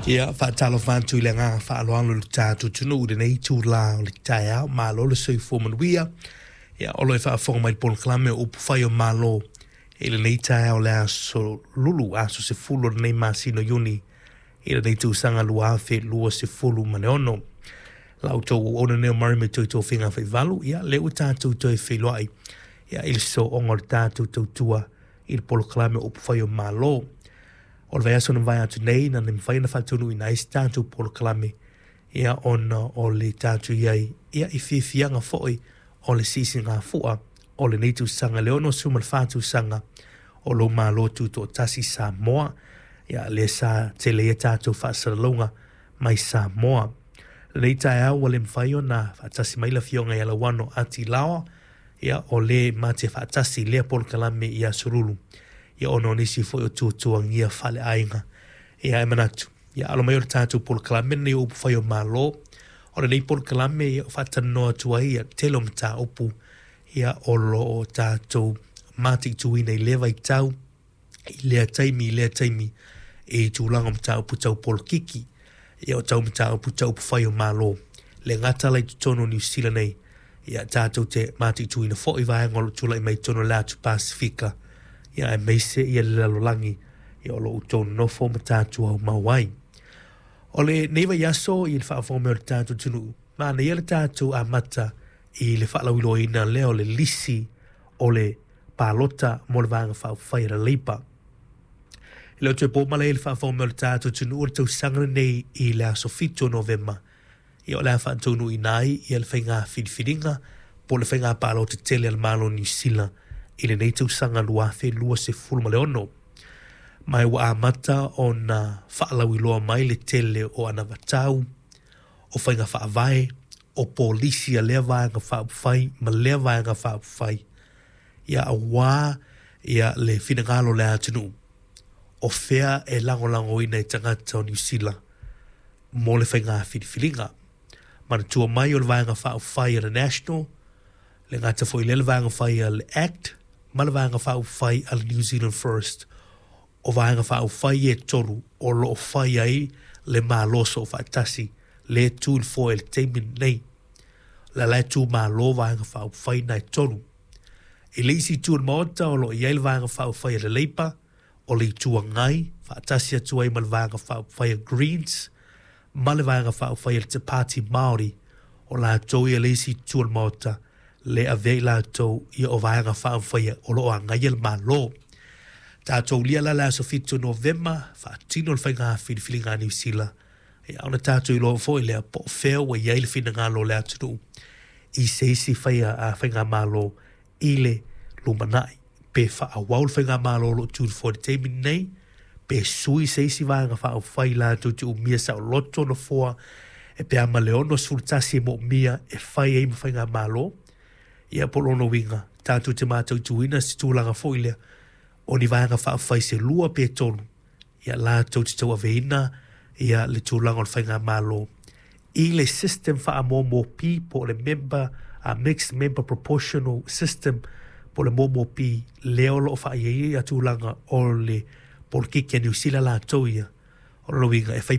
Ia, faatalofa atu i le agaga faaaloalo i le tatou atunuu i lenei itula o le taeao. Malo le soifua manuia. Ia, o lo o faafofoga mai i le polokalame o Upu Fai o Malo i lenei taeao o le aso Lulu, aso 10 o lenei masina o Iuni i lenei tausaga 2026. La outou auauna lenei o Murray me toi tofiga faivalu, ia, lea ua tatou toe feiloai ia, i le sooga o le tatou tautua i le polokalame o Upu Fai o Malo. O le vaiaso na mavae atu nei, na le mafai ona faataunuuina ai se tatou polokalame, ia, ona o le tatou i ai ia, i fiafiaga foi o le siisigafua o lenei tausaga, le 64 tausaga o lou Malo Tutoatasi Samoa. Ia, lea sa tele ai a tatou faasalalauga mai Samoa. Lenei taeao ua le mafai ona faatasi mai le Afioga ia Lauano Ati Laoa, ia, o le ma te faatasi i lea polokalame i Aso Lulu, ia, ona o nisi foi o tuatuagia faaleaiga. Ia, e manatu, ia, alo mai o le tatou polokalame lenei o Upu Fai o Malo. O lenei polokalame ia, faatalanoa atu ai ia tele o mataupu ia, o lo o tatou mataituina i lea vaitau, i lea taimi, i lea taimi, i tulaga o mataupu tau polokiki, ia o tau mataupu tau upufai o Malo. Le gata la i totonu o Niu Sila nei, ia tatou te mataituina foi vaega o lo o tulai mai i totonu o le Atu Pasefika, ia aemaise ia le lalolagi ia o lo o outou nonofo ma tatou aumau ai. O lenei vaiaso i le faafofoga mai o le tatou atunuu, manaia le tatou amata i le faalauiloaina lea o le lisi o le palota mo le Vaega Faaupufai a le Leipa. E le o toe po malae i le faafofoga mai o le tatou atunuu o le tausaga lenei i le aso 7 o Novema, ia o le a faataunuuina ai ia le faiga filifiliga po o le faiga palota tele a le Malo o Niu Sila i lenei tausaga 2026. Ma ua amata ona faalauiloa mai le tele o anavatau, o faiga faavae, o polisi a lea Vaega Faaupufai ma lea Vaega Faaupufai, ia aua ia le finagalo o le atunuu, o fea e lagolagoina e tagata o Niu Sila mo le faiga filifiliga. Manatua mai o le Vaega Faaupufai a le National, le gata foi lea le Vaega Fai a le ACT, ma le Vaega Faaupufai a le New Zealand First. O Vaega Faaupufai e tolu o lo o fai ai le Malo Soofaatasi le tu i le foe i le taimi lenei. La la e tu malo Vaega Faaupufai na e tolu. I le isi itu o le Maota o lo o i ai le Vaega Faaupufai a le Leipa, o le Itu Agai, faatasi atu ai ma le Vaega Faaupufai a Greens, ma le Vaega Faaupufai a le Te Pāti Māori, o latou ia le isi itu o le Maota, le avea i latou ia o Vaega Faaupufai o lo o agaia le Malo. Tatou lia la le aso 7 o Novema, faatino le faiga filifiliga a Niu Sila, ia ona tatou iloa foi lea po o fea ua i ai le finagalo o le atunuu i se isi faigamalo i le lumanai, pe faaauau le faigamalo o lo o tu i le foe i le taimi lenei, pe sui se isi Vaega Faaupufai latou te umia saoloto nofoa e pe a ma le 61 e moomia e fai ai ma faigamalo, ia po o lona uiga tatou te mataituina se tulaga foi lea o ni Vaega Faaupufai se lua pe tolu ia latou te tauaveina ia le tulaga o le faigamalo i le system faamomopi po o le member a mixed member proportional system po o le momopi lea o lo o faaiaia ia tulaga o le polokiki a Niu Sila latou ia. O lona uiga e fai